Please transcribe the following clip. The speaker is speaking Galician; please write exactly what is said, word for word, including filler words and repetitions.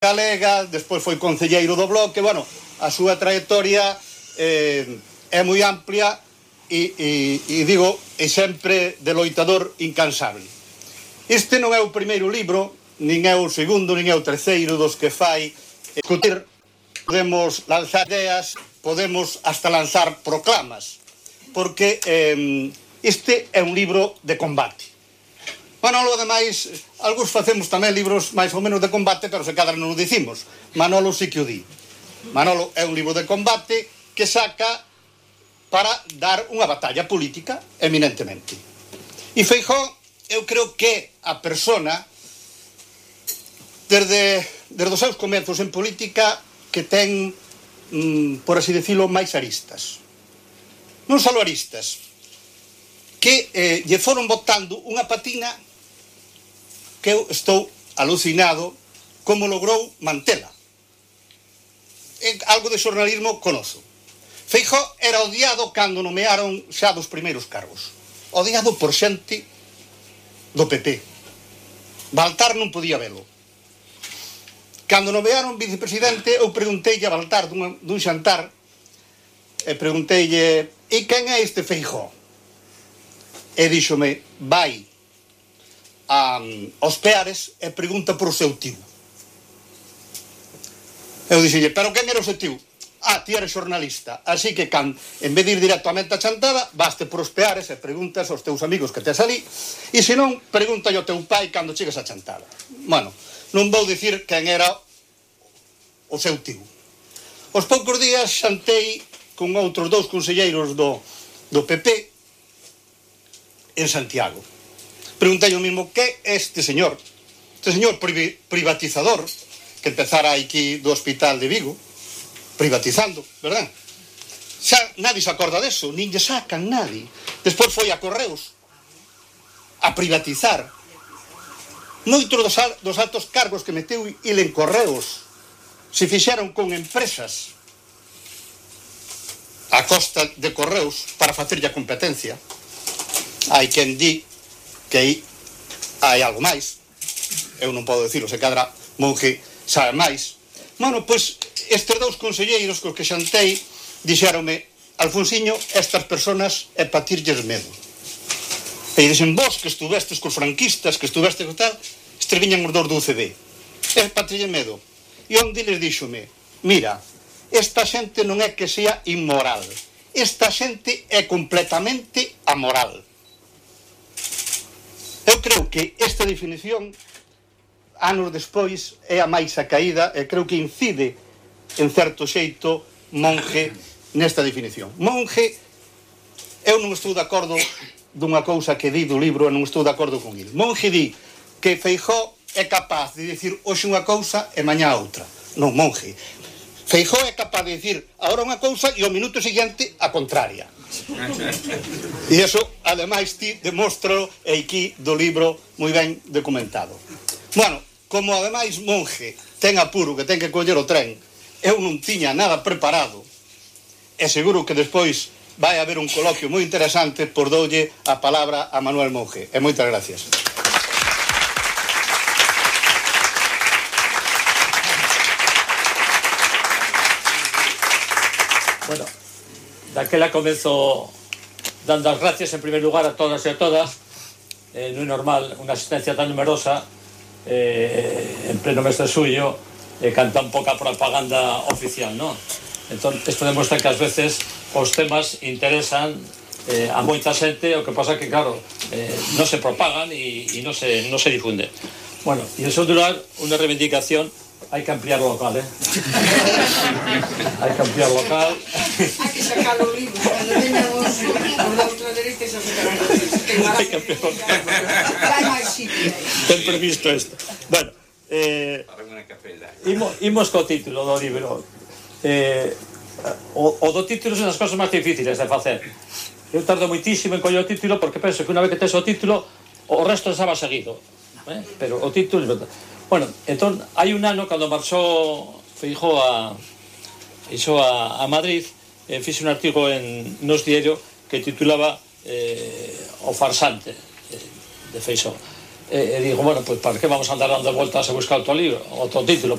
galega, despois foi concelleiro do Bloque. Bueno, a súa trayectoria eh, é moi amplia e, e, e digo, é sempre de loitador incansable. Este non é o primeiro libro, nin é o segundo, nin é o terceiro dos que fai discutir. Podemos lanzar ideas, podemos hasta lanzar proclamas, porque eh, este é un libro de combate. Manolo, ademais, algúns facemos tamén libros máis ou menos de combate, pero se cadra non o dicimos. Manolo sí que o di. Manolo é un libro de combate que saca para dar unha batalla política, eminentemente. E Feijóo, eu creo que a persona, desde, desde os seus comenzos en política, que ten, mm, por así decirlo, máis aristas. Non só aristas, que eh, lle foron botando unha patina que eu estou alucinado como logrou mantela. En algo de xornalismo conozo. Feijóo era odiado cando nomearon xa dos primeiros cargos. Odiado por xente do P P. Baltar non podía velo. Cando nomearon vicepresidente, eu pregunteille a Baltar dun, dun xantar, e pregunteille, e quen é este Feijóo? E díxome, vai a, aos Peares e pregunta por o seu tío. Eu dixille, pero quen era o seu tío? Ah, ti eres xornalista, así que can, en vez de ir directamente a chantada, vaste por os Peares e preguntas aos teus amigos que tes ali, e se non, pregunta ao teu pai cando chegas a chantada. Bueno, non vou dicir quen era o seu tío. Os poucos días xantei con outros dous conselleiros do, do P P en Santiago. Preguntei o mismo, que é este señor? Este señor privatizador que empezara aquí do hospital de Vigo, privatizando, verdad? Xa nadie se acorda deso, nin lle sacan nadie. Despois foi a Correos a privatizar. Moitos dos, dos altos cargos que meteu il en Correos se fixeron con empresas a costa de Correos para facerlle a competencia. Hai quen di que hai algo máis. Eu non podo dicilo, se cadra Monge sabe máis. Bueno, pois, estes dous conselleiros cos que xantei dixéronme, Alfonsiño, estas personas é pa tirlles medo. E dixen, vos que estuvestes cos franquistas, que estuvestes co tal, estes viñan os dous do U C D. É pa tirlles medo. E onde les díxome, mira, esta xente non é que sea inmoral, esta xente é completamente amoral. Eu creo que esta definición, anos despois, é a máis acaída e creo que incide, en certo xeito, Monge nesta definición. Monge, eu non estou de acordo dunha cousa que di do libro e non estou de acordo con il. Monge di que Feijóo é capaz de dicir hoxe unha cousa e mañá outra. Non, Monge. Feijóo é capaz de dicir agora unha cousa e ao minuto seguinte a contraria. E iso, ademais, ti demostralo aquí do libro moi ben documentado. Bueno, como ademais Monge ten apuro que ten que coller o tren, eu non tiña nada preparado e seguro que despois vai haber un coloquio moi interesante, por doulle a palabra a Manuel Monge. E moitas gracias. Bueno, daquela comenzo dando as gracias en primer lugar a todas e a todas. Eh, non é normal unha asistencia tan numerosa eh, en pleno mes de suyo e eh, canta un pouca propaganda oficial, non? Entón, isto demostra que ás veces os temas interesan eh, a moita xente, o que pasa que, claro, eh, non se propagan e, e non se, non se difunde. Bueno, e en segundo lugar, unha reivindicación. Hai que ampliar o local, eh? Hai que ampliar o local. Hai que sacar o libro. Cando veñan os da outra dereita xa sacarán o libro. Hai que ampliar o local. Hai máis sitio. Ten previsto isto. Bueno, eh... Imos, imos co título do libro. Eh, o, o do título son as cosas máis difíciles de facer. Eu tardo moitísimo en coller o título porque penso que unha vez que tes o título o resto estaba seguido. Eh? Pero o título... Bueno, entón, hai un ano, cando marchou Feijóo a, a, a Madrid, eh, fixe un artigo en Nos Diario que titulaba eh, O farsante eh, de Feijóo. E, e digo, bueno, pues para que vamos a andar dando vueltas a buscar outro libro, outro título, pues